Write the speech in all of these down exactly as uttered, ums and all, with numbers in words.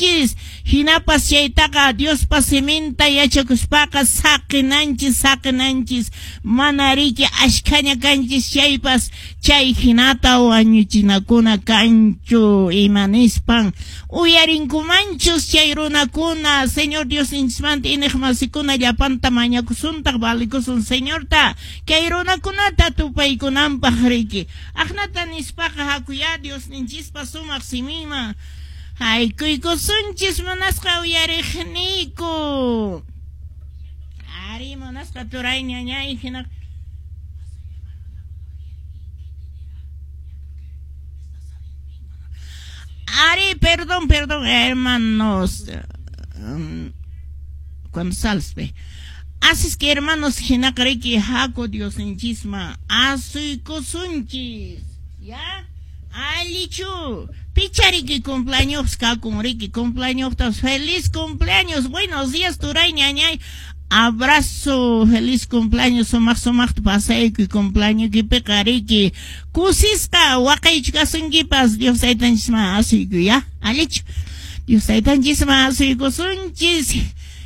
Kanchis hinapas chaytaqa Diospa siminta yachakuspaqa saqinanchis saqinanchis mana riki ashkhaña kanchis chaypas chay hinata wañuchinakuna kanchu. Ima nispan uyarinkumanchus chay runakuna? Señor Diosninchismanta iñiqmasikuna, llapanta mañakusuntaq, valikusun Señorta kay runakunata tupaykunanpaq riki. Aqnata nispaqa hakuya Diosninchispa sumaq siminman haykuykusunchis, munasqa uyariqniyku. Ari, munasqa turay, ñañay, hina Ari, perdón, perdón, hermanos. Cuando sales, ve. Así es que, hermanos, hinaqa riki haku Diosninchisman asuykusunchis. ¿Ya? Allichu. Pichariki cumpleaños kakun riki cumpleaños, feliz cumpleaños. Buenos días, turay, ñañay. Abrazo, feliz cumpleaños, sumaq sumaqta pasaykuy cumpleaños riki. Kusisqa waqaychkasunkipas. Dios taytanchisman asuykuy, ya. Allichu. Dios taytanchisman asuykusunchis.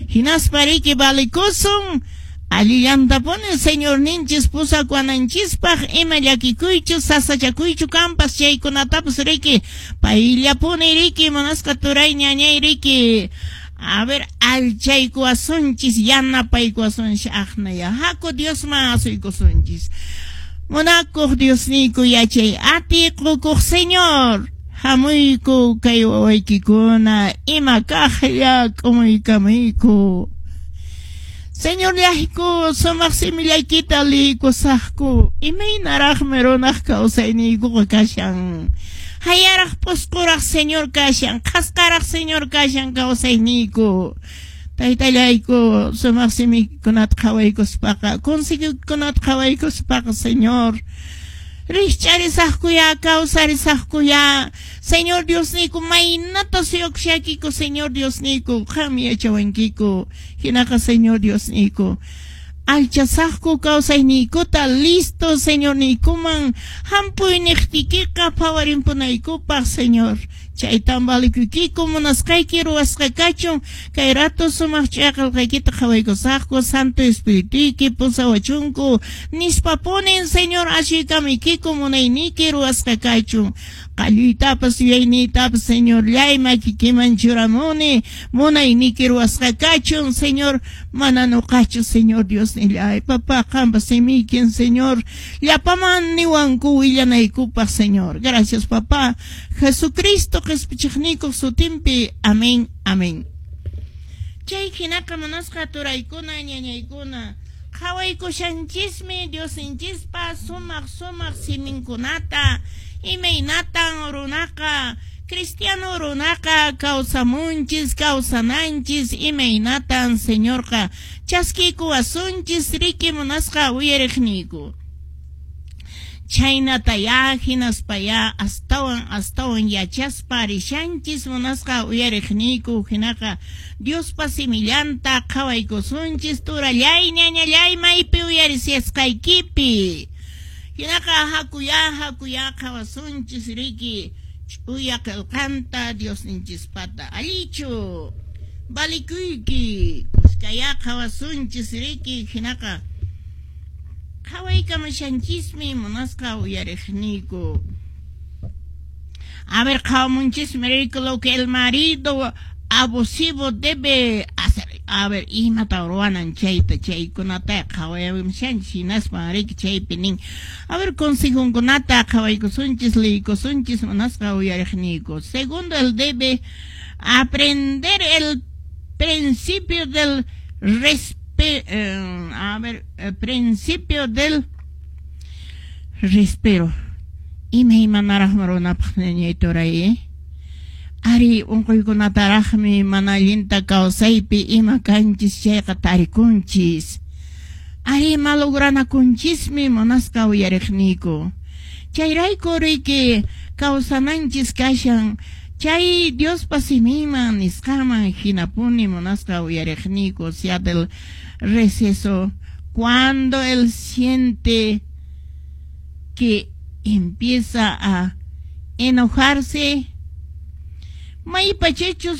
Hinaspa riki valikusun. Allillantapuni Señorninchis pusakuwananchispaq, ima llakikuychu sasachakuychu kanpas chaykunatapas riki payllapuni riki, munasqa turay, ñañay, riki a ver allchaykuwasunchis, yanapaykuwasunchis. Aqnaya haku Diosman asuykusunchis. Munakuq Diosniyku, yachay atiy qukuq Señor, hamuyku kay wawaykikuna ima kaqlla k'umuykamuyku. Señor llayku, sumaq simillaykita liykusaqku. Imaynaraqmi runaq kawsayniykuqa kashan. Hayaraq p'usquraq Señor kashan, qhasqaraq Señor kashan kawsayniyku. Taytallayku, sumaq simikunata qhawaykuspaqa, consejokunata qhawaykuspaqa, Señor, rikch'arisaqkuya, kawsarisaqkuya. Señor Diosniyku, maynata suyukushaykiku, Señor Diosniyku, qam yachawankiku. Hinaqa Señor Diosniyku, allchasaqku kawsayniykuta listo Señorniykuman hampuyniqtiykiqa phawarimpunaykupaq, Señor. Chaytan valikuykiku, munasqayki ruwasqa kachun. Kay rato sumaq ch'uya qillqaykita qhawaykusaqku, Santo Espirituyki pusawachunku nispapunin, Señor, asuykamuykiku, munayniyki ruwasqa kachun. Qalluytapas yuyayniytapas, Señorllay, makikiman churamuni, munayniyki ruwasqa kachun, Señor, mana nuqachu, Señor Diosnillay. Papá, qampa simiykin, Señor, llapaman niwanku willanaykupaq, Señor. Gracias, papá. Jesucristo qhispichiqniykuq sutinpi. Amén, amén. Chay hinaqa, munasqa turaykuna, ñañaykuna, qhawaykushanchismi Diosninchispa sumaq sumaq siminkunata, imaynatan runaqa, cristiano runaqa kawsamunchis, kawsananchis, imaynatan Señorqa chaskiykuwasunchis riki, munasqa uyariqniyku. Chhaynataya hinaspaya astawan astawan yachaspa rishanchis, munasqa uyariqniyku. Hinaqa Diospa simillanta qhawaykusunchis, turallay, ñañallay, maypi uyarisqaykipi. Hinaqa hakuya hakuya qhawasunchis riki ch'uya qillqanta Diosninchispata. Allichu, valikuyki, kuskaya qhawasunchis riki. Hinaqa qhawaykamushanchismi, munasqa uyariqniyku. A ver, qhawamunchismi riki lo que el marido abusivo debe hacer. A ver, imata ruwanan chayta, chaykunata qhawayamushanchis. Hinaspa riki chaypi nin. A ver, consejunkunata qhawaykusunchis, liykusunchis, munasqa uyariqniyku. Segundo, él debe aprender el principio del respeto. Eh, a ver, el principio del respeto. Imaymanaraqmi runapaq, ñañay, turay. Ari, unquykunataraqmi mana allinta kawsaypi ima kanchis chayqa tarikunchis. Ari, malogranakunchismi, munasqa uyariqniyku. Chayrayku riki kawsananchis kashan chay Diospa siminman nisqaman hinapuni, munasqa uyariqniyku. Sea del receso, cuando él siente que empieza a enojarse, maypachachus.